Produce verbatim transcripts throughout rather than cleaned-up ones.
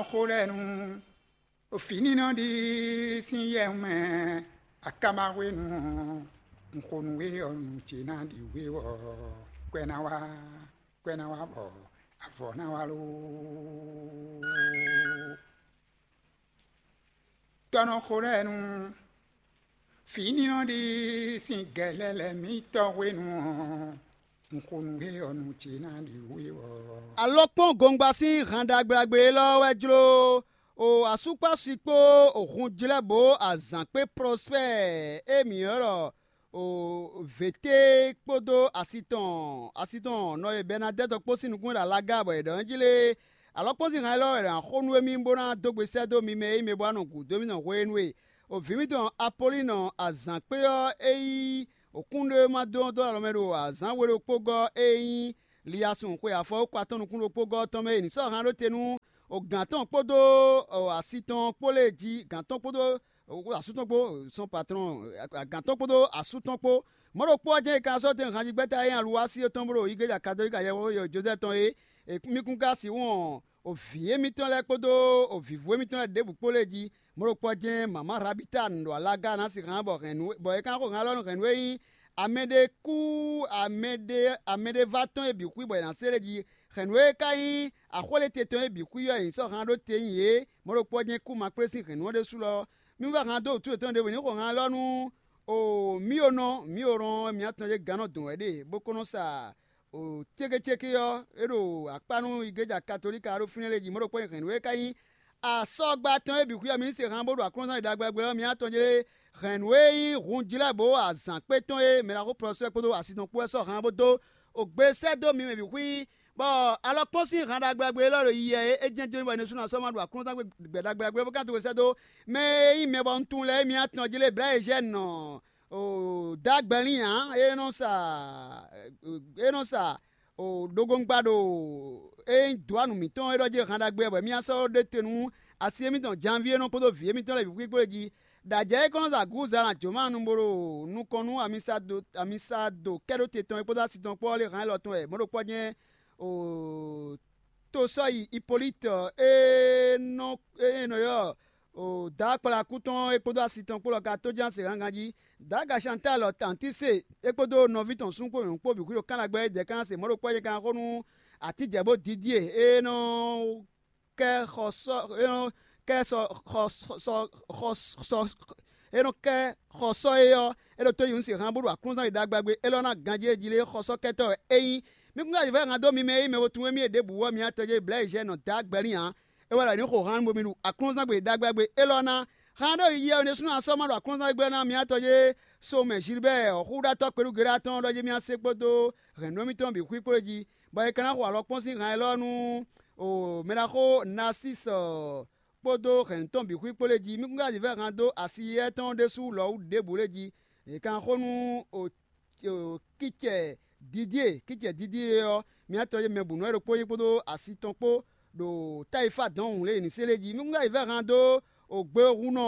Xó lɛ́ɛ nu, fǐnínɔ ɖi sín yɛ mɛ, akama hwenu ɔ́, un xo nú we ɔ́, nǔ ce ná ɖi we ɔ́, kwɛ ná wá, kwɛ ná wá bɔ avɔ ná wá loo. Tɔ́ nɔ xo lɛ́ɛ nu, fǐnínɔ ɖi sín gɛlɛlɛ mǐtɔn hwenu ɔ́, un xo nú we ɔ́, nǔ ce ná ɖi we ɔ́. Alɔkpɔ́n gongba sín han ɖagbe élɔ́ wɛ jló o asúkpási kpó o hunjlɛ́bǒ azǎn kpé Prɔspɛ́ɛ e mǐ ylɔ́ ɖɔ o věté kpódó asi tɔn asi tɔn nɔ e Bɛnadɛ́tɔ kpó sín nukún ɖo alaga bɔ è ɖɔ njí lé. Alɔkpɔ́n sín han élɔ́ wɛ è nǎ xo nú émí bó ná dó gbe sɛ́ dó mi mɛ e nyí mɛ bó ná nɔ gǔdo mì nɔ hwenu e o vǐ mitɔn Apolíinɔ azǎn kpé ɔ́ e nyí òkúnɖéwéma dó ɔ́ dó alɔ mɛ ɖo azǎn we ɖokpó gɔ́ e nyí Liyasun xwe afɔwúkpa tɔn nukún ɖokpó gɔ́ ɔ́ tɔn mɛ e è nǐ sɔ́ han ɖó te nú o gǎn tɔn kpódó asi tɔn kpó lɛ́ɛ jí, gǎn tɔn kpódó asú tɔn kpó, sɔn patlɔn, gǎn tɔn kpódó asú tɔn kpó. Mɔ̌ ɖokpó ɔ́ jɛ́n è ka sɔ́ tɛn hanjigbɛ́ta e nyí aluwási ɔ́ tɔn bó ɖo igleja katolíka yɛhwexó Jozɛ́ɛ tɔn é. Mi kún ka sixú wɔn o vǐ émítɔn lɛ́ɛ kpódó o vǐvú émítɔn lɛ́ɛ ɖěbǔ kpó lɛ́ɛ jí. Mɔ̌ ɖokpó ɔ́ jɛ́n mama Rabita ɖo alaga ná sixú bɔ hɛ̌nnu bɔ é ka xo hɛn alɔ nú hɛ̌nnu e nyí amɛɖé kú amɛɖé amɛɖé va tɔn e bǐ xwí bɔ è nǎ se lé jí. Hɛ̌nnu e ka nyí axwéléte tɔn e bǐ xwí ɔ́, è nǐ sɔ́ han ɖó te nyi yě. Mɔ̌ ɖokpó ɔ́ jɛ́n kú ma kplé sín hɛ̌nnu ɔ́ ɖésú lɔ. Mì vɛ́ han dó wǔtu yětɔn ɖěvo ní xo han élɔ́ nú o mǐ o nɔ mǐ o rɔn mǐ atɔn e gǎn nɔ dɔn wɛ ɖe bó ko nɔ sa o cékécéké ɔ́, é ɖo akpá nú igleja katolíka ɖo fínɛ́ lɛ́ɛ jí. Mɔ̌ ɖokpó nyí hɛ̌nnu e ka nyí asɔgba tɔn e bǐ xwí ɔ́, mi ní se han bó ɖo aklúnɔzán ɖagbe ɔ́ mi atɔn jlé. Hɛ̌nnu e nyí hunjlɛ́bǒ azǎn kpé tɔn e mɛ ɖaxó Plɔsɛ́ kpódó asi tɔn kpó wɛ sɔ́ han bó dó o gbe sɛ́ dó mi mɛ bǐ xwí, bɔ alɔkpɔ́n sín han ɖagbe élɔ́ ɖo yiyi wɛ é jɛ́n jó bɔ Jezu ná sɔ́ ma ɖo aklúnɔzán gbɛ ɖagbe bó ka dó gbe sɛ́ dó mɛ e nyí mɛ bɔ un tunwun lɛ́ɛ é mi atɔn jlé Blɛ̌yezhɛ́nu ɔ́, o dó agbɛlín ǎ, é nɔ sa é nɔ sa o ɖogbongba ɖo é nyí dǒ anu mǐtɔn é ɖɔ jí han ɖagbe bɔ mì sɔ́ ɖe te nú asi émítɔn Janvíe nɔ kpódó vǐ émítɔn lɛ́ɛ bǐ xwíxwé jí. Ɖo ajɛ e kɔn nɔ zɛ agǔza ná jǒ ma nu bó ɖo nukɔn nú amisa dó kɛ́ɖóte tɔn e kpódó asi tɔn kpó ɔ́ lé han élɔ́ tɔn wɛ mɔ̌ ɖokpó ɔ́ jɛ́n o tó sɔ́ yi Ipoliti e nɔ e nɔ ylɔ́ o dǎ kplakú tɔn é kpódó asi tɔn kpó lɔ ka tóján se hángan jí. Dǎga Shantáli ɔ́ tantí se é kpódó nɔví tɔn súnnu kpó nyɔ̌nu kpó bǐ xwí ɖo kánlagbɛ́ é dɛ̌ kán se mɔ̌ ɖokpó ɔ́ nyɛ kan xó nú atijɛ̌ bó dídí e é nɔ kɛ xɔ sɔ é nɔ kɛ sɔ xɔ sɔ xɔ sɔ é nɔ kɛ xɔ sɔ é ɔ́, é ɖo tó yi nú se hán bó ɖo aklúnzán ɖagbe ɖagbe élɔ́ ná ganjí é jí lé xɔsɔ́kɛtɔ́ wɛ é nyí. Mi kún ka yi vɛ́ han dó mi mɛ e nyí mɛ ko tunwun émí e ɖěbǔ ɔ́, mi atɔn jɛ́n Blɛ̌yizhɛ́ nɔ dó agbɛ́ n'i ǎ. É wɛ ɖɔ ní xo han bo mi ɖu aklúnzán gbe ɖagbe ɖagbe élɔ́ ná. Han ɖó yi yɛ ɖésúnɔ asɔ́ ma ɖo aklúnzán gbe ná mi atɔn jɛ́n so mɛ Zilibɛ́ɛ ɔ́ xúɖatɔ́ kpelúgéɖá tɔn ɔ́ ɖɔ jɛ́n mi asé kpódó hɛ̌nnu mitɔn bǐ xwí kpó é jí, bɔ è ka ná xo alɔkpɔ́n sín han élɔ́ nú mɛɖaxó Nasísi kpódó hɛ̌nnu tɔn bǐ xwí kpó lɛ́ɛ jí. Mí kún ka zǐ vɛ́ han dó asi éyɛ́ tɔn ɖésú lɔ̌ wú ɖěbǔ lɛ́ɛ jí. È kan xó nú kícɛ Didíe, kícɛ Didíe ɔ́, mǐ atɔn e mɛ bǔ nú wɛ ɖokpó nyí kpódó asi tɔn kpó ɖo Tayifá dɔn hǔn lě e è nǐ se lɛ́ɛ jí. Mí kún ka zǐ vɛ́ han dó gbe hunnɔ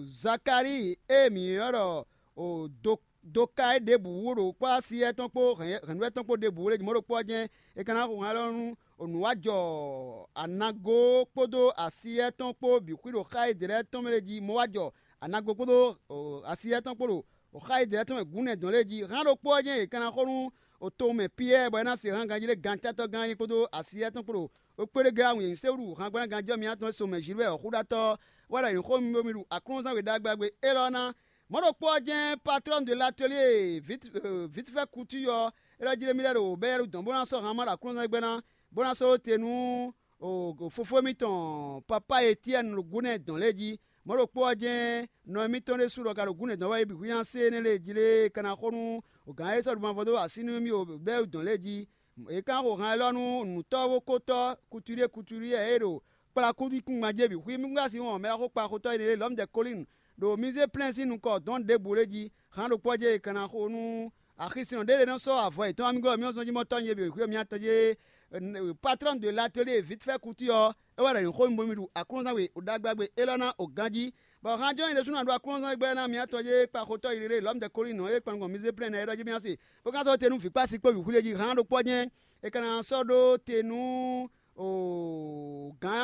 Zakalíi e mǐ ylɔ́ ɖɔ Doka é ɖěbǔ wú ɖo kpɔ́ asi éyɛ́ tɔn kpó hɛ̌nnu tɔn kpó ɖěbǔ lɛ́ɛ jí mɔ̌ ɖokpó ɔ́ jɛ́n è ka ná xo han élɔ́ nú nǔ wá jɔ anago kpódó asi éyɛ́ tɔn kpó bǐ xwí ɖo xá e dě lɛ́ɛ tɔn mɛ lɛ́ɛ jí mɔ wá jɔ anago kpódó asi éyɛ́ tɔn kpó ɖo xá e dě lɛ́ɛ tɔn mɛ gǔnɛ dɔn lɛ́ɛ jí. Han ɖokpó ɔ́ jɛ́n è ka ná xo nú towun mɛ Piyɛ́ɛ bɔ é ná se hán ganjí ɖé gantátɔ́ gán é kpódó asi éyɛ́ tɔn kpó ɖo kpéɖé glá wǔnyɛ́ se wú han gbɛ́ ná ganjí ɔ́ mi atɔn e so mɛ Zilibɛ́ɛ ɔ́ xúɖatɔ́ wɛ ɖɔ nyǐxó mi bo mi ɖu aklúnɔzán we ɖagbe ɖagbe élɔ́ ná. Mɔ̌ ɖokpó ɔ́ jɛ́n patlɔ́nu de latelier vǐtfɛ́ kutu ɔ́, é ɖɔ jí ɖé mì lɛ́ ɖo bɛ́yɛ́ɖu dɔn bó ná sɔ́ han má ɖo aklúnɔzán gbɛ́ ná, bó ná sɔ́ ɖó te nú fofó émítɔn Papá Etyɛ́ni ɖo gǔnɛ dɔn lɛ́ɛ jí. Mɔ̌ ɖokpó ɔ́ jɛ́n nɔ émítɔn ɖésú ɖɔ ka ɖo gǔnɛ dɔn wɛ é bǐ hwíhán sé énɛ́ lɛ́ɛ jí lé ka ná xo nú gǎn e sɔ́ ɖu mavɔ dó así nú émí o bɛ́yɛ́ɖu dɔn lɛ́ɛ jí. È ka xo han élɔ́ nú nǔtɔ́ bó kótɔ́ kutuɖíe kutuɖíe e ɖo kplá kúdíkúngban jí é bǐ xwí mí kún ka sixú wɔn mɛ ɖaxó kpaxotɔ́ énɛ́ lɛ́ɛ lɔ̌ mi jɛ Kolínu ɖo Mizéplɛ́n sín nukɔn dɔ̌n ɖěbǔ lɛ́ɛ jí. Han ɖokpó ɔ́ jɛ è ka ná xo nú axi sin ɔ́ ɖé lɛ́ɛ nɔ sɔ́ avɔ yětɔn amigɔ́ mì ɔ́ zɔn jí mɔ tɔ́ nyi é bǐ xwí mì atɔn jí. Patrɔ́n de latelier vítfɛ́ kutu ɔ́, é wɛ ɖɔ nyǐxó mi bo mi ɖu aklúnɔzán we ɖagbe ɖagbe élɔ́ ná o ganjí. Bɔ han jɔ́n nyi ɖésú ná ɖo aklúnɔzán gbɛ́ ná mǐ atɔn jɛ kpaxotɔ́ yi ɖé lɔ̌ mi jɛ Kolínu ɔ́ e kpan gbɔn Mizéplɛ́n ná é ɖɔ jí mì ɔ́ se, bó ka sɔ́ te nú vǐ kpási kpó vǐ xwlé jí. Han ɖokpó ɔ́ jɛ́n è ka ná sɔ́ ɖó te nú gǎn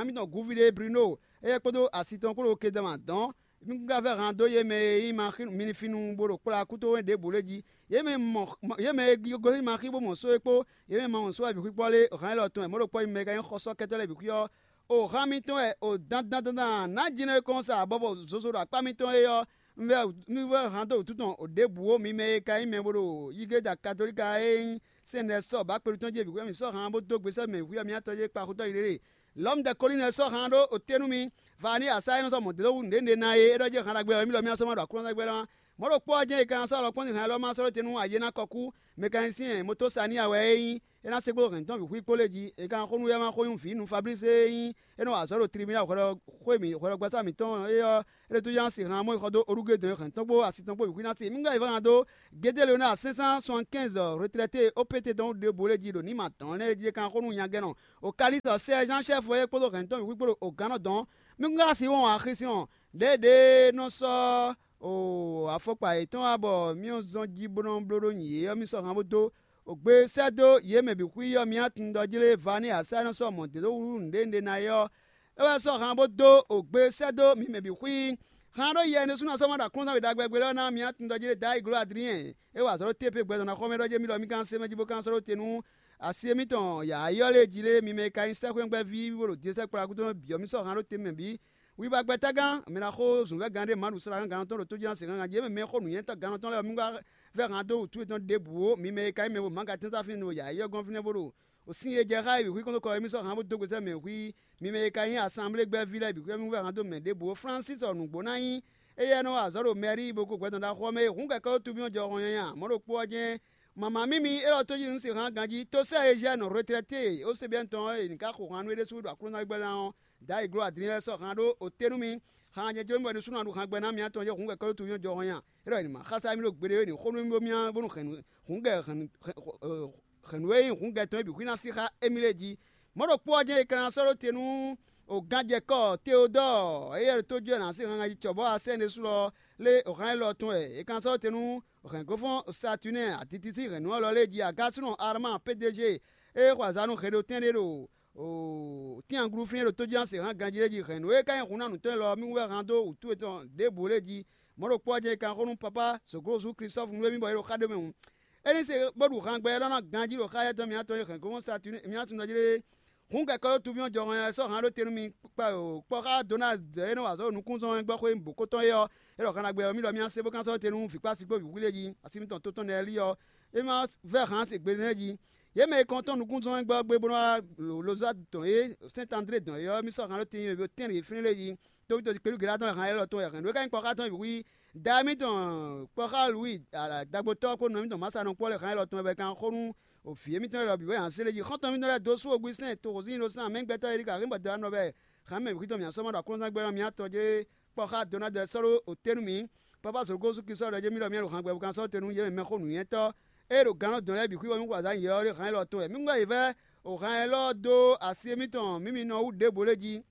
Mǐtɔn Gúvíɖé Brino, éyɛ́ kpódó asi tɔn kpó ɖo Kedama dɔn. Mí ka vɛ́ han dó yě mɛ e nyí Maxi minifinu bó ɖo kplá kútowɛ ɖěbǔ lɛ́ɛ jí. Yě mɛ mɔ yě mɛ e gosín Maxi bó mɔ só é kpó, yě mɛ ma mɔ só wɛ bǐ xwíkpɔ́ lé, hǎn élɔ́ tɔn wɛ mɔ̌ ɖo kpɔ́ yi mɛ ka nyí xɔsɔ́kɛtɔ́ lɛ́ɛ bǐ xwí ɔ́, o hǎn mitɔn wɛ o dandan dandan nǎ jínɔ e kɔn sa abɔbɔ zozo ɖo akpá mitɔn é ɔ́, un vɛ́ un vɛ́ hǎn dó wǔtu tɔn ɖěbǔ ó, mi mɛ e ka nyí mɛ bó ɖo yígéda katolíka e nyí sɛ́n lɛ́ɛ sɔ́ bǎ kpelu tɔn jí bǐ xwí ɔ́, mǐ sɔ́ hǎn bó dó gbe sɛ́ mɛ wǐ ɔ́, mi ná tɔ́ yé kpa xutɔ́ yi ɖéɖé. Lɔ̌mudɛkɔlínu ɔ́ sɔ́ han ɖó oté nú mì. Vani asa e nɔ sɔ́ mɔ̌ dó wú nǔɖé nǔɖé ná é, é ɖɔ jɛ́n han ɖagbe ɔ́, émí lɔ mì ná sɔ́ ma ɖo Aklúnɔ tɔn gbɛ lɔ́. Mɔ̌ ɖokpó ɔ́ jɛ́n è ka ná sɔ́ alɔkpɔ́nzin han élɔ́ ma sɔ́ ɖó te nú Ayenákɔkú, mɛ ka nyí sín wɛ é nyí, é ná se kpódó hɛ̌n tɔn bǐ xwí kpó lɛ́ɛ jí. È ka ná xo nú yá ma xó nyí vǐ nú Fablísi e nyí é nɔ wa azɔ̌ ɖo tribúnál hwɛɖɔgbɛ́sá mǐtɔn é ɔ́, é ɖo tójánsi han mɔ yi xɔ dó olúgé dɔn e hɛ̌n tɔn kpó asi tɔn kpó bǐ xwí ná se. Mǐ ká yi vá han dó Gédéleona cinq cent soixante-quinze retraité opété tɔn ɖěbǔ lɛ́ɛ jí ɖo ní ma dɔn lɛ́ɛ jí é ka xó nú nyagɛ́nɔ. Okalísɔ Sɛ́ɛ Jean Chɛ́fu é kpódó hɛ̌ntɔn wǐwú kpó ɖo ogǎnnɔ dɔn. Mí kún ka si wɔn axi sin ɔ́, ɖěɖée nɔ sɔ́ afɔkpa yětɔn wá bɔ mí nɔ zɔn jí bó nɔ bló ɖó nyǐ é ɔ́, mí sɔ́ han bó dó. Ogbe sɛ́ dó yě mɛ bǐ xwí ɔ́, mí ná tunwun ɖɔ jlé Vani Asa nɔ sɔ́ mɔ̌ dó wú nǔɖé nǔɖé ná é ɔ́, é wɛ sɔ́ han bó dó ogbe sɛ́ dó mǐ mɛ bǐ xwí. Han ɖó yɛ ɖésú ná sɔ́ ma ɖo aklúnɔzán wěɖagbɛgbé lɛ́ɛ ná mǐ ná tunwun ɖɔ jlé Dayi gló Adliyɛn é wa azɔ̌ ɖó té pe gbɛzɔn ná xɔmɛ ɖɔ jɛ́ mí lɔ mí ka ná se mɛ jí bó ka ná sɔ́ ɖó te nú asi e mítɔn yǎyɔ́ lɛ́ɛ jí lé, mi mɛ e ka nyí sɛ́xwé gbɛ́ví bó ɖo Jezɛ́ kplá kútɔ́ bǐ ɔ́, mì sɔ́ han ɖó te mɛ bǐ. Wiba gbɛ́tágán, mɛ ná xó zǔnvɛ́gán ɖé Maɖu slágán gannɔ tɔn ɖo tójínɔ sɛngán ganjí, mɛ xó nǔnywɛ́tɔ́ gannɔ tɔn lɛ́ɛ ɔ́, mì wá vɛ́ han dó wǔtu yětɔn ɖěbǔ ó, mi mɛ e ka nyí mɛ bo mǎgatɛ́nsáfín ɖo yǎyɔ́ gɔ́n fínɛ́ bó ɖo sin e jɛ xá e bǐ xwí kɔn dó kɔ ɔ́, mì sɔ́ han bó dó gbe sɛ́ mɛ hwí. Mi mɛ e ka nyí asanblé gbɛ́ví lɛ́ɛ bǐ xwí ɔ́, mì wú vɛ́ han dó mɛ ɖěbǔ ó. Flánsis ɔ́, nǔgbó ná nyí éyɛ́ nɔ wa azɔ̌ ɖo mɛrí bo ko gbɛtɔ́ ɖaxó ɔ́ mɛ e hǔn kɛkɛ́ ó tubí ɔ́ jɔ hɔn nyanya, mɔ̌ ɖokpó ɔ́ jɛ́n Mama mímí élɔ́ tó jí nǔ sin hán ganjí tó sɛ́ Ezyɛ́nu retrɛté e ó se byɔ́ tɔn ɔ́ e nǐ ká xo han nú é ɖésú ɖo Aklúnɔzán gbɛ́ ná ɔ́, Dayi gló adlin wɛ sɔ́ han ɖó oté nú mì. Han nyɛ jló mì bɔ è nɔ sú nɔ ɖu han gbɛ ná mì atɔn jɛ hǔn kɛkɔ́ tó yɔ́n jɔ hɔn nya. É ɖɔ è nǐ ma xásá mì ɖo gbeɖé é nǐ xó nú mì bó mì bónú hǔn gɛ hɛ̌nnu e nyí hǔn gɛ tɔn é bǐ xwí ná sí xá émí lɛ́ɛ jí. Mɔ̌ ɖokpó ɔ́ jɛ́n è ka ná sɔ́ ɖó te nú ganjɛkɔ́ Teodɔ́ɔ, éyɛ́ ɖo tó jɔ ná sí han ganjí cɔ̌bɔ́ asɛ́n ɖésú lɔ lé hǎn élɔ́ tɔn wɛ è ka ná sɔ́ ɖó te nú hɛ̌nglófɔ́n Satunɛ́ɛ, aditi sín hɛ̌nnu ɔ́ lɔ lɛ́ɛ jí. Agásínɔ Arma P D G e xɔ azǎn nú hɛɖotɛ́n ɖé ɖo tínanglú fínɛ́ ɖo tójínɔ́ se hǎn ganjí lɛ́ɛ jí hɛ̌nnu e ka nyí hun ná nǔtɔn élɔ́ ɔ́, mì wú wɛ han dó wǔtu yětɔn ɖěbǔ lɛ́ɛ jí. Mɔ̌ ɖokpó ɔ́ jɛ́n è ka xó nú Papá Soglozu Klistɔ́fu nú émí bɔ é ɖo xá ɖé mɛ hǔn. É ní se bó ɖu han gbɛ élɔ́ ná ganjí ɖo xá yɛ́tɔn mǐtɔn e hɛ̌nglófɔ́n Satunɛ́ɛ mǐ ná tunwun jí lé. Hǔn kɛkɔ́ dó tuví ɔ́ jɔhɔn ɔ́ sɔ́ han ɖó te nú mi kpɔ́ xá Donald e nɔ wa azɔ̌ ɖo nukúnzɔ́n wɛngbɔ́xwé bǒkótɔn é ɔ́, é ɖɔ han ɖagbe ɔ́, mì ɖɔ mì ná se bó kán sɔ́ te nú vǐkpási kpó vǐwlí e jí asi mitɔn tótɔn lɛ́ɛ lí ɔ́, é ma vɛ́ han se gbe nɛ́ jí. Yě mɛ e kɔn tɔn nukúnzɔ́n wɛngbɔ́ gbé bó nɔ́ wá lozá dɔn é Sɛ́nt André dɔn é ɔ́, mì sɔ́ han ɖó te nyi mɛ tɛ́nɖě fínɛ́ lɛ́ɛ jí. Tóví tɔ́ kpéɖu Geɖá tɔn e han élɔ́ tɔn wɛ hɛn nǔ e ka nyí kpɔ́ xá tɔn bǐ hu í. Da émítɔn kpɔ́ xá Lwíi dagbotɔ́ kpó nɔ émítɔn Masa nɔ kpɔ́ lɛ́ han élɔ́ tɔn wɛ kan xó nú vǐ émítɔn lɛ́ɛ lɔ bǐ wɛ hǎn sélé jí. Xɔ́ntɔn émítɔn lɛ́ɛ dó sú Ogwisɛ́n toxo sín ɖó sín amɛ̌gbɛ́tɔ́ e ɖi ka hɛn bɔ dɔ̌ nɔ bɛ́ hǎn mɛ bǐ xwítɔn mǐ asɔ́ ma ɖo aklúnɔzán gbɛ́ ɔ́, mǐ atɔn jlé kpɔ́ xá Donald sɔ́ ɖó otɛ́ nú mǐ. Papa Zǒgósu Klísu ɖɔ jɛ́n mì ɖɔ mì ɖo han gbɛ bo kan sɔ́ te nú yě mɛ mɛxó nǔnywɛ́tɔ́ e ɖo gannɔ dɔn lɛ́ɛ bǐ xwí wɛ mì xo azǎn yě ɔ́ ɖe han élɔ́ tɔn wɛ. Mì gbɛ́ yě vɛ́ o han élɔ́ dó asi émítɔn mǐ mi nɔ wú ɖěbǔ lé jí.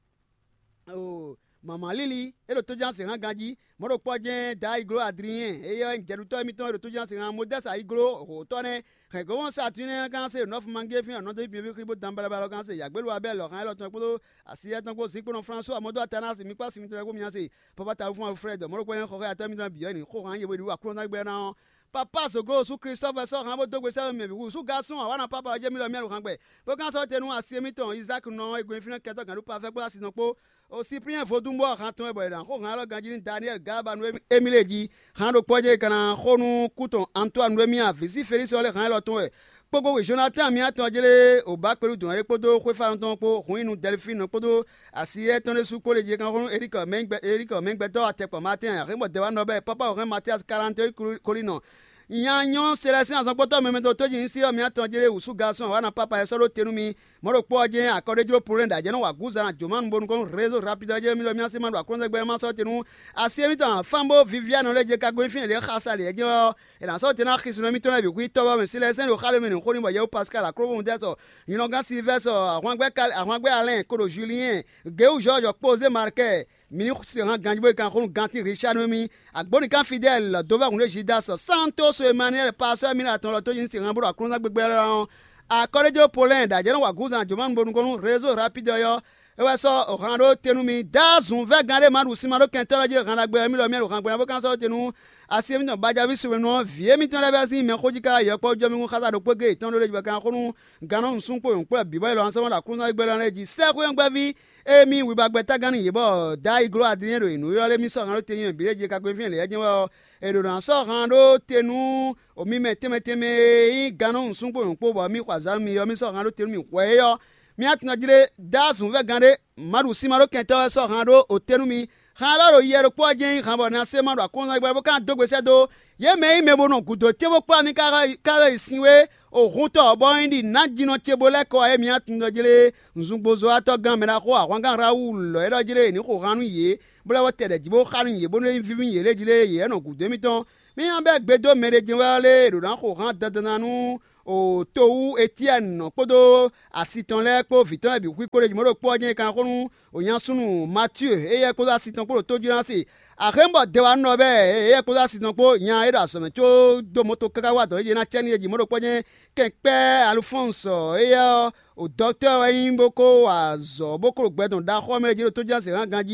O mama líli é ɖo tójánse hán ganjí. Mɔ̌ ɖokpɔ́ jɛ́n Dayigló Adlinyɛn, éyɛ́ wɛ nyí jɛɖutɔ́ émítɔn e ɖo tójánse hán Modɛ́si ayiglo hǒtɔ́ nɛ́. Hɛ̌ngbɔ́mɔ Saatúnɛ ɔ́ ka se nɔ́fumangéfín ɔ́ nɔ́ dó bǐ mɛ kpódó danbalabala ɔ́ ka se yǎgbélu Abɛ́li lɔ̌ hán élɔ́ tɔn kpódó asiyɛ́ tɔn kpó zinkpo nɔ Flásúa mɔdó Atanasi mi kpó asi mitɔn lɛ́ɛ kpó mi nya se. Pɔ́pá Tawúfɔ́n Alfrɛ́d mɔ̌ ɖokpɔ́ nyí xɔxɔ́ atɔ́ mitɔn bǐ ɔ́ ní xó hán yě bó ɖu aklúnɔzán gbɛ́ ná ɔ́. Papa Zoglo Jezu Klísu vɛ́ sɔ́ hán bó dó gbe sɛ́ mɛ bǐ wú sú gásɔ́n awǎ ná pápá ɔ́ jɛ mì lɔ mì aɖu hán gbɛ. Bó ka sɔ́ te nú asi émítɔn Izáki nɔ e gbɛn fínɛ́ kɛtɔ́ gǎn ɖó pafɛ́ kpó asi tɔn kpó. O Sipliyɛ́n vodúnbɔ han tɔn wɛ bɔ è nǎ xó han élɔ́ ganjí nú Daniyɛ́li Gaaba nú émí lě jí. Han ɖokpó ɔ́ jɛ è ka ná xó nú kú tɔn Antoani nú émí a, vǐ sí Felísi ɔ́ lɛ́ han élɔ́ tɔn wɛ. Kpókpó Jonatáan mǐ atɔn jlé o bǎ kpelú dɔ̌n é kpódó xwéfánɔ tɔn kpó hun nyi nú Dɛlifínu kpódó asi étɔn ɖésú kpó lě jí é ka xó nú Erikɔ mɛ gbɛtɔ́ atɛkpɔ Maatɛ́n, hɛ̌ngbɔ́ dɛwá nɔ bɛ́ pápá wɛ hɛn Matíasi Kalantɔ́ Kolínɔ. Nya nyɔ́ Selɛsín azɔngbɔ́tɔ́ mɛmɛ tɔn tójínusí ɔ́ mǐ atɔn jlé wǔsú gasɔn wǎ ná pápá ɛ sɔ́ ɖó te nú mi. Mɔ̌ ɖokpó ɔ́ jɛ́n akɔ́ɖéjló Polɛ́ɛ ɖo ajɛ̌ nɔ wa gǔzan ná jǒ ma nukɔn nú rézo rapidi ɔ́ jɛ́n mì lɔ mì así ma ɖo aklúnɔzán gbɛ́ ma sɔ́ te nú asi émítɔn Fanbo Vivianu lɛ́ɛ jɛ ka gɔ́ nyi fínɛ́ lě xasa lě jɛ́n ɔ́, è nǎ sɔ́ te ná xisínɔ émítɔn lɛ́ɛ bǐ xwí tɔ́ bɔ mɛ Silɛsɛ́n ɖo xá ɖé mɛ nǔ xó n'i bɔ Yɛwu Pascal Aklóbómudɛ́sɔ, nyɔ̌nɔgán Silivɛ́sɔ, ahwangbɛ́ Alɛ́n kpódó Juliyɛ́n, Gěwu Jɔ́ɔjɔ kpó Zé Markɛ́, mǐ ní se han ganjí bó yi kan xó nú gantí Richard nú émí. Agbónikán Fidɛ́li dó vɛ́ hǔn ɖé Zidásɔ, Santóso Emaniyɛ́li pasɔ́ émí atɔn lɔ tó nyí se han bó ɖo aklúnɔzán gbégbé lɛ́ɛ ɔ́, akɔ́ɖéjló Polɛ́ɛ ɖo ajɛ̌ nɔ wa gǔzan jǒmanu bonu kɔn nú rézo rapidi ɔ́. É wɛ sɔ́ han ɖó te nú mi. Dá zunvɛ́gán ɖé ma ɖu sin ma ɖó kɛntɔ́ lɛ́ɛ jí han ɖagbe ɔ́, émí lɔ mì wɛ ɖo han gbe ná bó ka sɔ́ te nú asi émítɔn Bajaví Suwenu ɔ́, vǐ émítɔn lɛ́ɛ vɛ́ sín mɛxó jí ká yɔkpɔ́ jɔ mì kún xása ɖokpó géé yětɔn ɖó lé jí bɔ kan xó nú gannɔ nǔsúngbó nyɔ̌kpɔ́ bǐbɔ́ élɔ́ ɔ́ sɔ́ mɔ ɖo aklúnɔ́ gbɛ́ lɛ́ɛ jí. Sɛ́xwé ɔ́ gbɛ́ví émí wibagbɛ tágán nú yě bɔ Dayi gló Adrinyɛ́ ɖo yě nǔ ylɔ́ lé mì sɔ́ han ɖó te nyi bǐ ɖé jí kakwéfín lě jɛ́n wɛ ɔ́, è ɖǒ ná sɔ́ han ɖó te nú mi mɛ tɛnmɛ tɛnmɛ e nyí gannɔ nǔsúngbó nyɔ̌kpó bɔ mì xɔ azǎn nú mi ɔ́, mì sɔ́ han ɖó te nú mì hwɛ é ɔ́. Mì atɔnɔjlé dá zunvɛ́gán ɖé, ma ɖu sin ma ɖó kɛntɔ́ wɛ sɔ́ han ɖó òté nú mi. Han élɔ́ ɖo yɛ ɖokpó ɔ́ jɛ́n nyí han bɔ ná se ma ɖo akɔ́nzán gbɛ bó ka dó gbe sɛ́ dó yě mɛ e nyí mɛ bo nɔ gǔdo ce bó kplá mi ká wɛ yi sin wé o hun tɔ bɔ nyí ɖi nǎjínɔ ce bó lɛ́ kɔ wá é mì atɔnɔjlé nǔzúngbozɔ́watɔ́ gán mɛ ɖaxó ahwangán Rawúlu lɔ é ɖɔ jlé è ní xo han nú yě, bó lɛ́ wɔ tɛ ɖɛ jí bó xa nú yě bónú é nyí víví yě lé jí lé yě wɛ nɔ gǔdo émítɔn. Mì nya bɛ́ gbe dó mɛ ɖé jɛ́n wɛ ɔ́ lé, è ɖǒ ná xo han dandan ná nú o to wú Etyɛ́ni kpódó asi tɔn lɛ́ɛ kpó vǐ tɔn lɛ́ɛ bǐ xwí kpó ɖé jí mɔ̌ ɖo kpó ɔ́ jɛ́n é ka ná xó nú o nya súnnu Matíe éyɛ́ kpódó asi tɔn kpó ɖo tójínɔ́ se. Axémbɔ dewanú ɔ́ bɛ́ éyɛ́ kpódó asi tɔn kpó nya é ɖo azɔ̌ mɛ có dó mɔ̌ to káká wá dɔ̌n é jí ná cɛ́ n'i é jí mɔ̌ ɖo kpɔ́ jɛ́n kɛnkpɛ́ Alufɔ́nsɔ éyɛ́ ɔ́, o dɔktɔ́ wɛ nyí bó kó wa azɔ̌ bó kó ɖo gbɛ tɔn ɖaxó ɔ́ mɛ ɖé jí ɖo tójínɔ́ se hán ganjí.